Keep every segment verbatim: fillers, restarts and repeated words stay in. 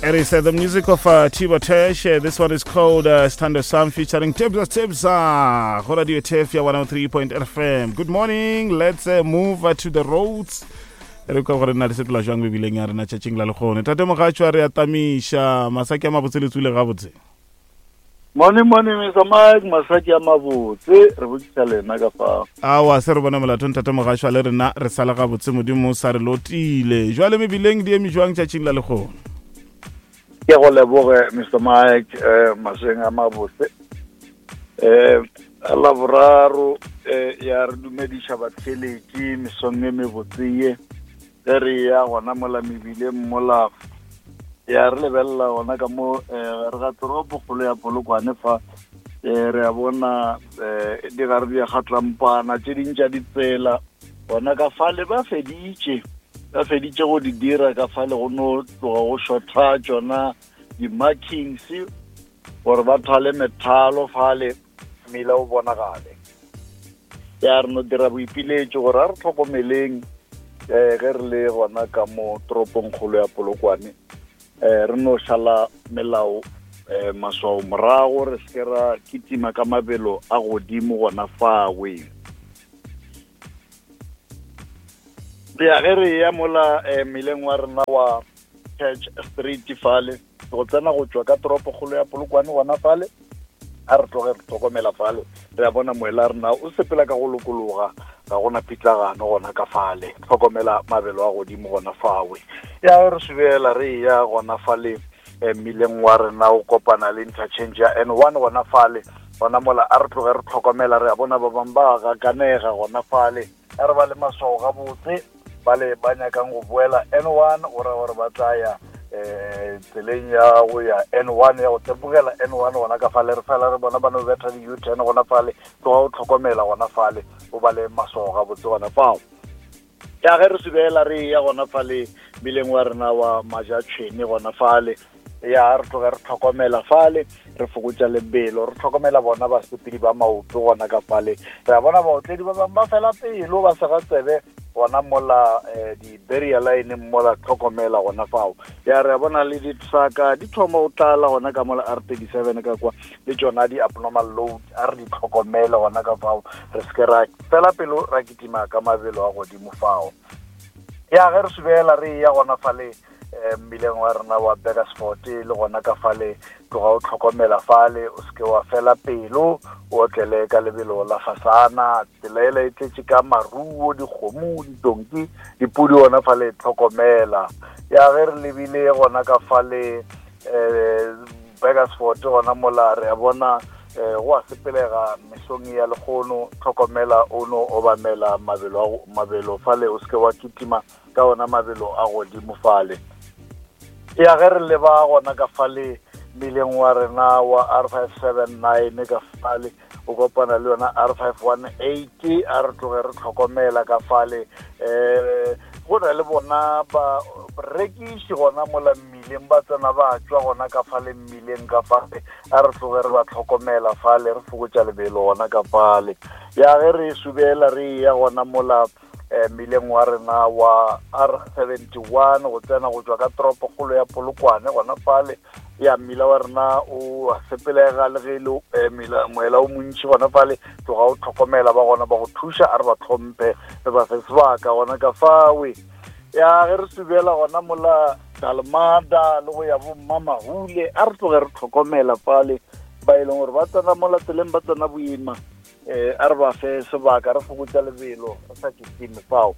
It is uh, the music of uh, Tiba Tesh. Uh, this one is called uh, Stand Sam featuring Tebza Tebza. Go Radio T F ya one oh three point F M. Good morning. Let's uh, move uh, to the roads. Re kwa gore nna re sepela jwang mebileng ya rena tšatšing la lekgone. Tate Mogatšwa, re atamiša masaki a mabotse, le tswile gabotse? Morning, morning, Mister Mike. Masaki a mabotse, re botšiša lena ka fao. Awa, se re bone molato, ntate Mogatšwa. Le rena re sala gabotse, Modimo o sa re lotile. Jwale mebileng di eme jwang tšatšing la lekgone? Ke go leboge, Mister Mike. um masweng a mabotse um Laboraro. um ya re dumediša batheletši mesong e mebotse ye. Ge re ya gona mola mebileng mola, ya re lebelela gona ka mo um re ga toropo kgolo ya Polokwane fa, um re a bona um di gare di ya kgatlampana tše ding tša ditsela gona ka fale. Ba feditše ba feditše go di dira ka fale, go no tloga go shotha tšona di-markings gore ba thale methalo fale, mmila o bonagale. Ya re no dira boipiletšo gore a re tlhokomeleng um ge re le gona ka mo toropong kgolo ya Polokwane, um re no šala melao, um maswao morago, re seke ra kitima ka mabelo a godimo gona fawe. Ya ge re ya mola um mmileng wa rena wa Church Street fale, go tsena go tšwa ka toropokgolo ya Polokwane gona fale, a re tloge re tlhokomela fale. Re a bona moela rena o sepela ka go lokologa, ga gona pitlagano gona ka fale. Tlhokomela mabelo a godimo gona fawe. Ya re subela re ya gona fale eh, mmileng wa rena o kopana le interchange ya N one gona fale, gona mola a re tloge re tlhokomela. Re a bona ba bangwe ba gakanega gona fale. A re ba le maswao gabotse ba le ba nyakang go boela N one, go ra gore ba tla ya um tseleng ya go ya N one, ya go tepogela N one gona ka fale. Re fela re bona ba no betha di-U-turn gona fale. Tloga o tlhokomela gona fale, o ba le maswao gabotse gona fao. Ya ge re subela re ya gona fale mmileng wa rena wa Majatšhwene gona fale, ya re tloge re tlhokomela fale, re fokotša lebelo, re tlhokomela bona basepedi ba maoto gona ka fale. Re a bona baotledi ba bangwe ba fela pelo, ba sega tsebe gona mola um di-barrier line mola, tlhokomela gona fao. Ya re a bona le di-trucka di thoma go tlala gona ka mola R thirty seven ka kwa, le tšona di-abnormal load, a re di tlhokomele gona ka fao, re seke ra fela pelo ra kitima ka mabelo a godimo fao. Ya ge re subela re ya gona fale um mmileng wa rena wa Burgersfort, le gona ka fale tloga o tlhokomela fale, o seke wa fela pelo, o otlele ka lebelo la fasana. Tsela ela e tletše ka maruo, dikgomo, ditonki, dipudi gona fale, tlhokomela. Ya ge re lebile gona ka fale um Burgersfort gona mola, re a bona um go a sepelega mesong ya lekgono. Tlhokomela, o no obamela mabelo a go- mabelo fale, o seke wa kitima ka ona mabelo a godimo fale. Ya ge re leba gona ka fale mmileng wa rena wa R five seven nine ka fale, o kopana le yona R five one eight, a re tloge re tlhokomela ka fale. um go na le bona ba rekiši gona mola mmileng, ba tsena ba tšwa gona ka fale mmileng ka fale, a re tloge re ba tlhokomela fale, re fokotša lebelo gona ka fale. Ya ge re subela re ya gona mola eh, mmileng wa rena wa R seventy one go tsena go tšwa ka toropokgolo ya Polokwane gona fale, ya mmila wa rena o a sepelega le ge e le eh, mela- moela o montši gona fale. Tloga o tlhokomela, ba gona ba go thuša, a re ba tlhomphe, re ba fe sebaka gona ka fawe. Ya ge re subela gona mola Dalmada le go ya bo Mmamahule, a re tloge re tlhokomela fale ba e leng gore ba tsena mola tseleng, ba tsena boima, um a re ba fe sebaka, re fokotša lebelo, re sa kitime fao.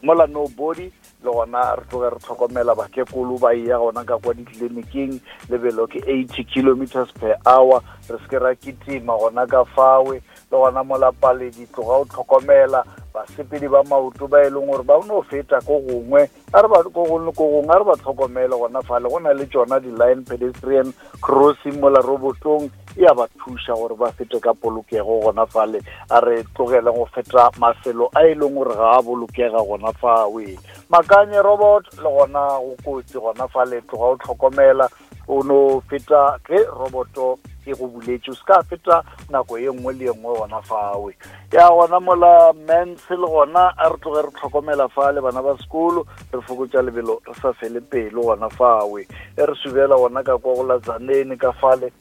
Mola Nobody le gona re tloge re tlhokomela bakekolo ba ya gona ka kwa ditleliniking, lebelo ke eighty kilometers per hour, re seke ra kitima gona ka fawe. Le gona mola Paledi, tloga o tlhokomela basepedi ba maoto ba e leng gore ba no feta ko gongwe, a re ba ko gongwe ko gongwe, a re ba tlhokomele gona fale. Go na le tšona di-line pedestrian crossing mola robotong, e a ba thuša gore ba fete ka polokego gona fale. A re tlogele go feta mafelo a e leng gore ga a bolokega gona fawe. Makanye robot le gona go kotsi gona fale, tloga o tlhokomela, o no feta ge roboto e e go buletše o se ka feta nako ye nngwe le ye nngwe gona fawe. Ya gona mola mens le gona a re tloge re tlhokomela fale bana ba sekolo, re fokotša lebelo re sa fele pelo gona fawe. E re subela gona ka kwa go la Tzaneen ka fale,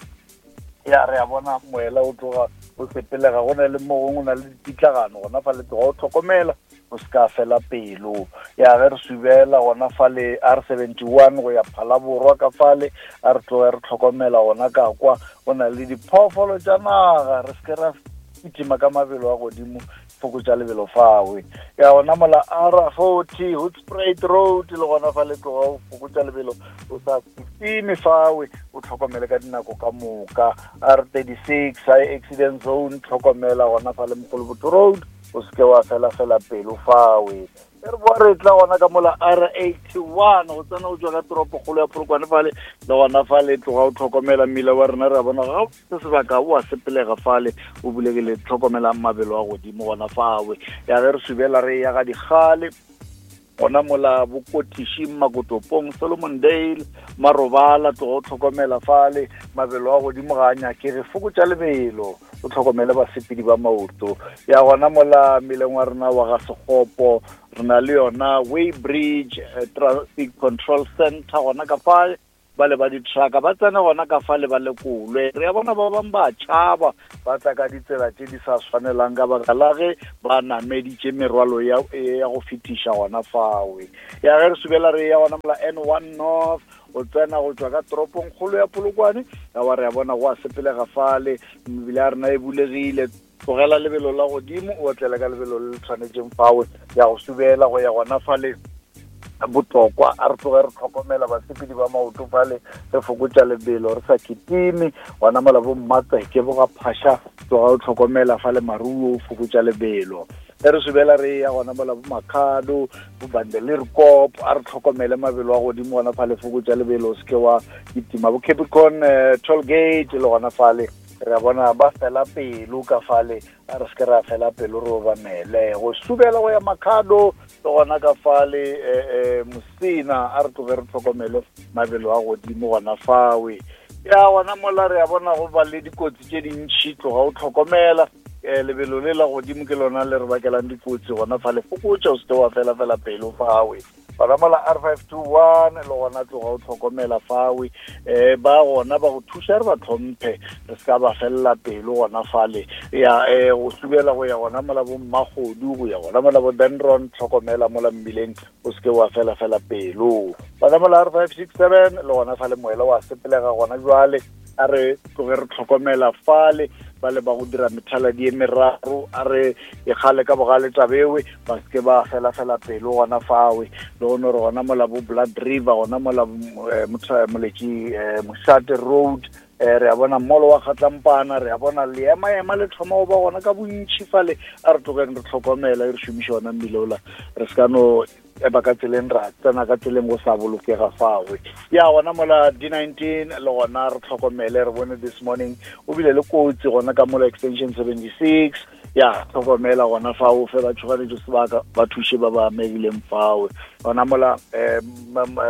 ya re a bona moela o tloga o sepelega, go na le mo gongwe o na le dipitlagano gona fale, tloga o tlhokomela o se ka fela pelo. Ya ge re subela gona fale R seventy-one go ya Phalaborwa ka fale, a re tloge re tlhokomela gona ka kwa, go na le diphoofolo tša naga, re se ke ra kitima ka mabelo a godimo, fokotša lebelo fawe. Ya gona mola R forty Hoedspruit Road le gona fale, tloga o fokotša lebelo o sa kitime fawe, o tlhokomele ka dinako ka moka. R thirty-six high accident zone, tlhokomela gona fale Mokolobotho Road, o se ke wa fela fela pelo fawe. E re boa re tla gona ka mola R eighty-one go tsena o tswa ka toropokgolo ya Polokwane fale, le gona fale tloga o tlhokomela mmila wa rena, re a bona ga se sebaka o a sepelega fale, o bulegile, tlhokomela mabelo a godimo gona fawe. Ya ge re subela re ya ga Dikgale gona mola Bokotiši, Makotopong, Solomon Dale, Marobala, tloga o tlhokomela fale mabelo a godimo ga a nyakege, fokotša lebelo o tlhokomele basepedi ba maoto. Ya gona mola mmileng wa rena wa ga Sekgopo, re na le yona Weybridge eh, Traffic Control Center gona ka fale, ba le ba di-trucka ba tsena gona ka fale ba lekolwe. Re a bona ba bangwe ba tšhaba ba tla ka ditsela tše di sa swanelang ka baka la ge ba nameditše merwalo ya, ya go fetiša gona fawe. Ya ge re subela re ya gona mola N one North o tsena go tswa ka toropong kgolo ya Polokwane, ya wa re a bona go a sepelega fale, mebile ya rena e bulegile, tlogela lebelo la godimo o otlele ka lebelo le le tshwanetseng fawe. Ya go subela go ya gona fale botlokwa, a re tloge re tlhokomela basepedi ba maoto fale, re fokotša lebelo re sa kitime gona mola bo Mmatseke bo ga Phasha, tloga o tlhokomela fale maruo o fokotša lebelo. Ge re subela re ya gona mola bo Makhado bo Bandelerkop, a re tlhokomele mabelo a godimo gona fale, fokotša lebelo o se ke wa kitima. Bo Capricorn eh, toll gate le gona fale re a bona ba fela pelo ka fale, a re se ke ra fela pelo re obamele. Go subela go ya Makhado le gona ka fale eh, eh, Mosina, a re tloge re tlhokomele mabelo a godimo gona fawe. Ya gona mola re a bona go ba le dikotsi tše dintšhi, tloga o tlhokomela eh, lebelo le la godimo ke lona le re bakelang dikotsi gona fale, fokotša o se ke wa fela fela pelo fawe. Gona mola R five two one le gona tloga o tlhokomela fawe, eh ba gona ba go thuša re ba tlhomphe, re se ka ba felela pelo gona fale. Ya eh go subela go ya gona mola bo Mmakgodu, go ya gona mola bo Dendron, tlhokomela mola mmileng o se ke wa fela fela pelo. Gona mola R five six seven le gona fale moela wa sepelega gona jwale, a re tloge re tlhokomela fale ba le ba go dira methaladi e meraro, a re e kgale ka bogale tabewe ba se ke ba fela fela pelo gona fawe. Le gone re gona mola bo Blood River, gona mola Moletši Mošate Road, eh re a bona molo wa Kgatlampana, re a bona leema-ema le thoma go ba gona ka bontšhi fale, a re tlogeng re tlhokomela re šomiše ona mmile ola, re se ka no eba ka tseleng ra tsena ka tseleng go sa bolokega fawe. Ya gona mola D nineteen le gona re tlhokomele, re bone this morning o bile le kotsi gona ka mola extension seventy-six, ya tlhokomela gona fao, fe ba tšhoganetšo sebaka ba thuše ba ba amegileng fawe. Gona mola eh,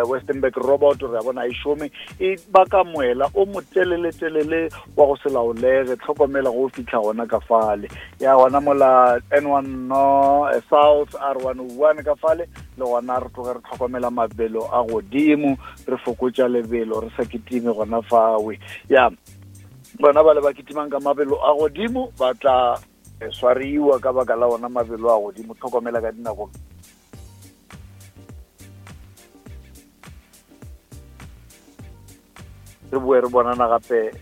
Westernburg Robot re a bona e šome, e baka moela o moteleletelele wa go se laolege, tlhokomela go fitlha gona ka fale. Ya gona mola N one no South R one oh one ka fale le gona re tloge re tlhokomela mabelo a godimo, re fokotša lebelo re sa kitime gona fawe. Ya bona ba le ba kitimang ka mabelo a godimo ba tla swariwa ka baka la ona mabelo a godimo, tlhokomela ka dinako. Re boe re bonana gape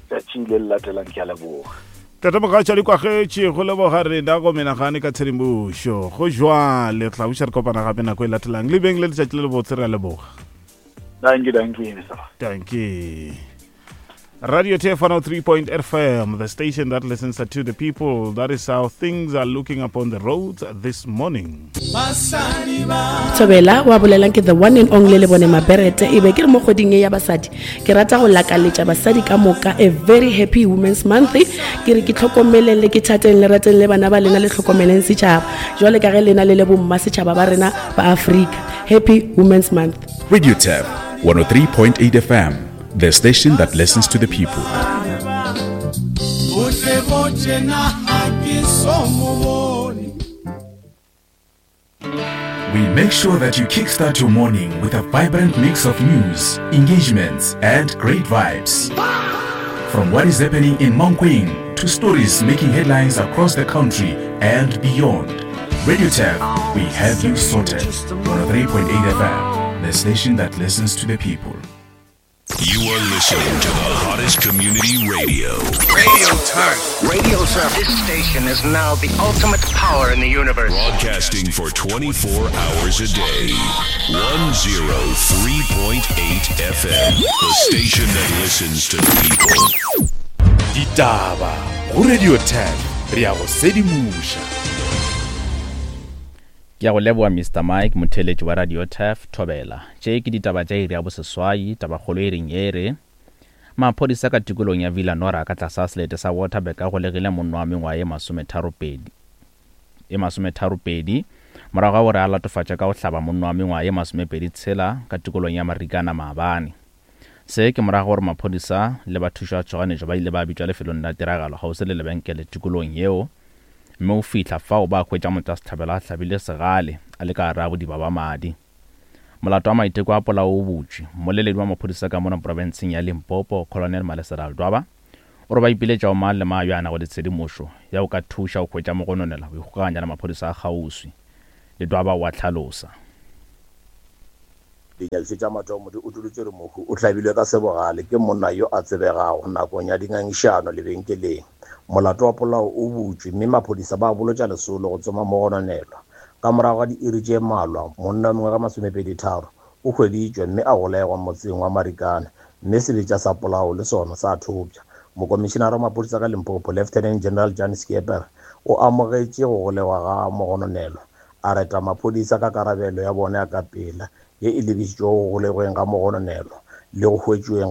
tšatši le le latelang, ke a leboga. Tata Mogatša di kwagetše go leboga rena go menagane ka tshedimošo. Go jwale tla buša re kopana gape nako e latelang. Le beng le letšatši le lebotse, re a leboga. Dankie, dankie, Mister Dankie. Radio T F one oh three point F M, the station that listens to the people. That is how things are looking upon the roads this morning. Thobela wa bolelang ke the one and only le bone Maberete e be ke re mo kgweding ya basadi. Ke rata go lakaletša basadi ka moka a very happy Women's Month. Ke re ke tlhokomeleng le ke thateng le rateng le bana ba lena le tlhokomeleng setšhaba. Jwale ka ge lena le le bomma setšhaba ba rena ba Afrika. Happy Women's Month. Radio T F one oh three point eight F M, the station that listens to the people. tjena ha ke so mo bone. We make sure that you kickstart your morning with a vibrant mix of news, engagements, and great vibes. From what is happening in Mankweng to stories making headlines across the country and beyond. Radio Turf, we have you sorted. one oh three point eight F M, the station that listens to the people. You are listening to the hottest community radio. Radio Turf. Radio Turf. This station is now the ultimate power in the universe. Broadcasting for twenty-four hours a day. one oh three point eight F M. The station that listens to the people. Ditaba go Radio Turf, re ya go sedimoša. Ke a go leboga Mister Mike, motheeletši wa Radio Turf, Thobela. Tše ke ditaba tša iri ya boseswai, tabakgolo e reng e re maphodisa ka tikolong ya Villa Nora ka tlasa selete sa Waterberg a golegile monna wa mengwaga e masometharopedi e masometharopedi morago ga gore a latofatša ka go hlaba monna wa mengwaga e masomepedi tshela ka tikolong ya Marikana maabane. Se ke morago gore maphodisa le bathuši ba tšhoganetšo ba ile ba bitšwa lefelong la tiragalo kgauswi le lebenkele tikolong yeo, mme o fihla fao ba hwetša motšwasehlabelo a hlabile segale a le ka gare ga bodiba ba madi. Molato wa maiteko a polao o butšwe. Mmoleledi wa maphodisa ka mona profenseng ya Limpopo, Colonel Malesela Ledwaba, o re ba ipiletša go mang le mang yo a nago le tshedimošo ya go ka thuša go hwetša mogononela go ikgokaganya le maphodisa a kgauswi. Ledwaba o a hlalosa. Dinyakišišo tša mathomo di utolotše gore mohu o hlabilwe ka sebogale ke monna yo a tsebegago nakong ya dingangišano lebenkeleng. Molato wa polao o butšwe mme maphodisa ba bolotša lesolo go tsoma mogononelwa. Ka morago ga diiri tše mmalwa, monna wa mengwaga masomepedi tharo o hweditšwe mme a golegwa motseng wa Marikana, mme sebetša sa polao le sona sa thopša. Mokomišenara wa maphodisa ka Limpopo, Lieutenant General Jan Skeepers, o amogetše go golegwa ga mogononelwa, a reta maphodisa ka karabelo ya bona ya ka pela ye e lebišitšwego go golegweng ga mogononelwa le go hwetšweng